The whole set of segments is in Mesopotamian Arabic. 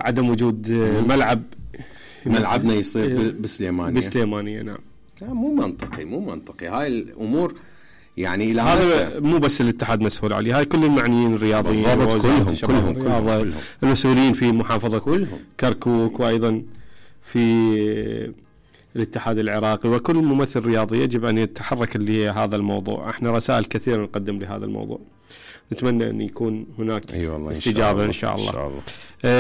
عدم وجود ملعبنا يصير بسليمانية. نعم. مو منطقي هاي الامور. يعني هذا مو بس الاتحاد مسؤول عليه، هاي كل المعنيين الرياضيين كلهم المسؤولين في محافظة كركوك، وأيضا في الاتحاد العراقي، وكل ممثل رياضي يجب أن يتحرك لهذا الموضوع. احنا رسائل كثيرة نقدم لهذا الموضوع، نتمنى أن يكون هناك استجابة إن شاء الله.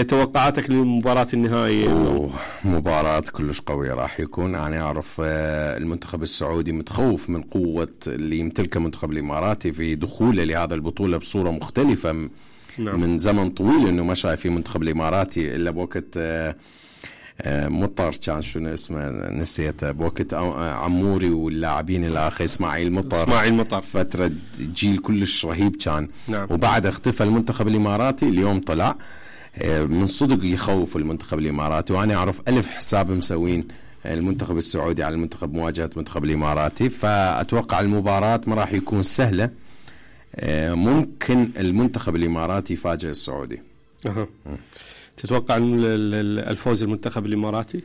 توقعاتك للمباراة النهائية؟ مباراة كلش قوية راح يكون. أنا أعرف المنتخب السعودي متخوف من قوة اللي يمتلكها المنتخب الإماراتي في دخوله لهذا البطولة بصورة مختلفة. نعم. من زمن طويل إنه ما شايف في منتخب الإماراتي إلا بوقت مطر، كان شنو اسمه نسيته، بوقت عموري واللاعبين الآخر إسماعيل مطر فترة جيل كلش رهيب كان. نعم. وبعد اختفى المنتخب الإماراتي، اليوم طلع من صدق يخوف المنتخب الإماراتي. وأنا أعرف 1000 حساب مسوين المنتخب السعودي على المنتخب مواجهة المنتخب الإماراتي. فأتوقع المباراة ما راح يكون سهلة، ممكن المنتخب الإماراتي يفاجئ السعودي. تتوقع الفوز المنتخب الإماراتي؟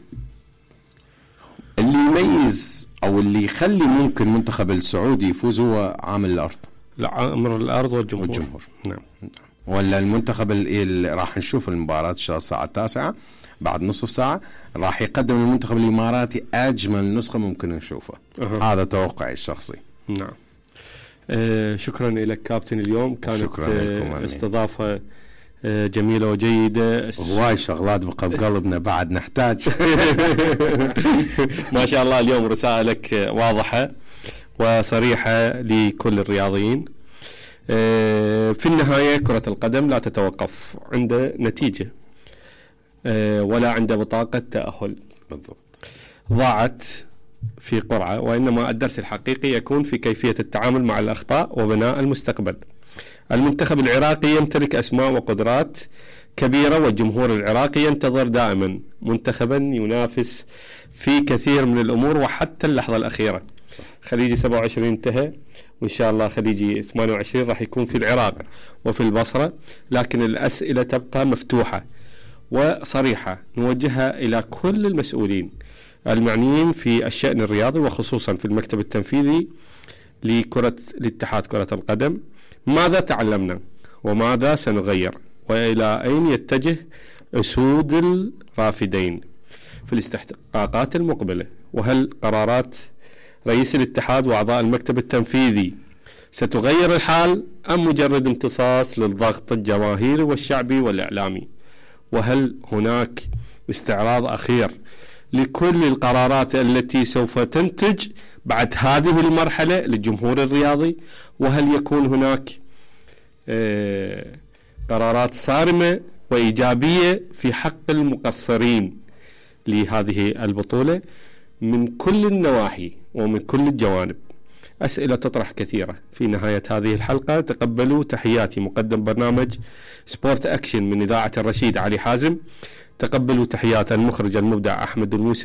اللي يميز أو اللي يخلي ممكن منتخب السعودي يفوز هو عامل الأرض. لا، أمر الأرض والجمهور. نعم. ولا المنتخب اللي راح نشوف المباراة إن شاء الله الساعة 9 بعد نصف ساعة راح يقدم المنتخب الإماراتي أجمل نسخة ممكن نشوفها. هذا توقعي الشخصي. نعم. شكرا لك كابتن. اليوم كانت استضافة جميلة وجيدة. هواي شغلات بقى بقلبنا بعد نحتاج. ما شاء الله اليوم رسائلك واضحة وصريحة لكل الرياضيين. في النهاية كرة القدم لا تتوقف عند نتيجة ولا عند بطاقة تأهل بالضبط ضاعت في قرعة، وإنما الدرس الحقيقي يكون في كيفية التعامل مع الأخطاء وبناء المستقبل. المنتخب العراقي يمتلك أسماء وقدرات كبيرة، والجمهور العراقي ينتظر دائما منتخبا ينافس في كثير من الأمور وحتى اللحظة الأخيرة. خليجي 27 انتهى، وإن شاء الله خليجي 28 راح يكون في العراق وفي البصرة، لكن الأسئلة تبقى مفتوحة وصريحة نوجهها إلى كل المسؤولين المعنيين في الشأن الرياضي، وخصوصا في المكتب التنفيذي لاتحاد كرة القدم. ماذا تعلمنا وماذا سنغير، وإلى أين يتجه أسود الرافدين في الاستحقاقات المقبلة؟ وهل قرارات رئيس الاتحاد وأعضاء المكتب التنفيذي ستغير الحال أم مجرد امتصاص للضغط الجماهيري والشعبي والإعلامي؟ وهل هناك استعراض أخير لكل القرارات التي سوف تنتج بعد هذه المرحلة للجمهور الرياضي؟ وهل يكون هناك قرارات صارمة وإيجابية في حق المقصرين لهذه البطولة من كل النواحي ومن كل الجوانب؟ أسئلة تطرح كثيرة. في نهاية هذه الحلقة تقبلوا تحياتي مقدم برنامج سبورت أكشن من إذاعة الرشيد علي حازم. تقبلوا تحيات المخرج المبدع أحمد الموسى.